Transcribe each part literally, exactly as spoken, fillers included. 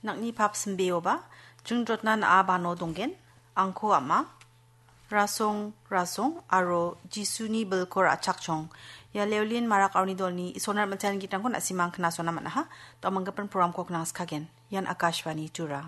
Nang·ni pap simbeoba, jing jotna na·a bano donggen, angko ama, rasong, rasong, aro Jisuni bilko ra·chakchong. Ia Leolin Marak aro uni dolni Isorna mitani gitrangko na·simang knasona man·aha, to·a manggipan programko knangskagen. Ian Akashvani Tura.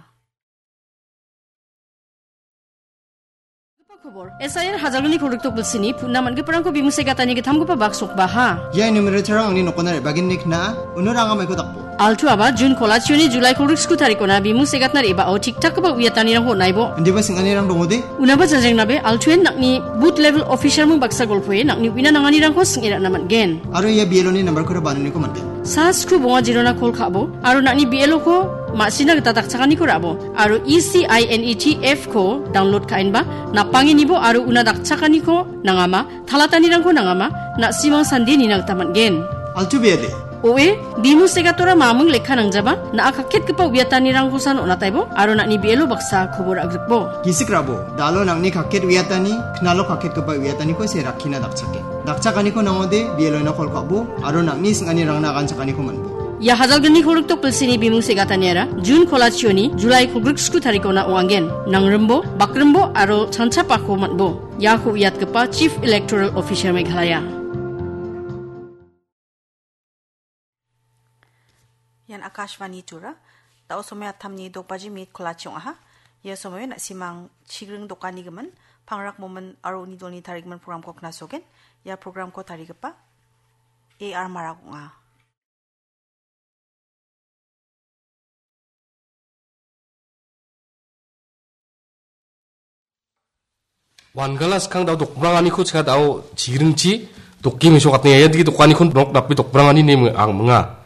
Khobor. S I R hajalgni kolgrikdok bilsini puna man·giparangko bimung segatani gittamgipa baksokbaha. Ia numero terang angni nokona re·bagenni kna·a, uno ranga maiko dakbo. Altu aba Jun kolachioni Julai kolgrik sku tarikona bimung segatna re·bao tik-takgipa uiatanirangko on·aibo. Indiba sing·anirang dongode? Unaba jajengnabe, Altuen nang·ni booth level officer mung baksa golpoe nang·ni uina nanganirangko sing·e ra·na man·gen. Aro ia B L O ni nambarkora bananiko man·gen. Sa sku bonga jirona kol ka·bo, aro nang·ni B L O ko ma·sina gita dakchakaniko ra·bo, aro E C I N E T F ko download ka·enba, napangenibo aro una dakchakaniko nangama, talatanirangko nangama, na·simang sande nina gita man·gen. Altu bede. Oe, bimung segatora mamung lekka nangjaba, na·a kakketgipa uiatanirangkosan on·ataibo, aro nang·ni B L O baksa kobor agrikbo. Gisik rabo, dalo nang·ni kakket uiatani, knalo kakketgipa uiataniko se rakkina dakchake. Dakchakaniko nangode, B L O-na kol ka·bo, aro nang·ni sing·anirangna aganchakaniko man·bo. Ia hajalgni kolgrikdok bilsini bimung segataniara, Jun kolachioni, Julai kolgrik sku tarikona ong·angen. Nangrimbo, bakrimbo, aro chanchapako man·bo. Iako uiatgipa Chief Electoral Officer Meghalaya. Ian Akashvani Tura. Da·o somoy attamni dok baji minit kolachi ong·aha. Ia somoio na·simang chigring dokanigimin, Pangrak Momin aro uni dolni tarigimin programko knasogen. Ia programko tarigipa A R Marak ong·a. Wangala skang da·o dokbranganiko chika da·o chigringchi dokke mesokatna ia dike dokaniko nok nape dokbrangani ine ang minga.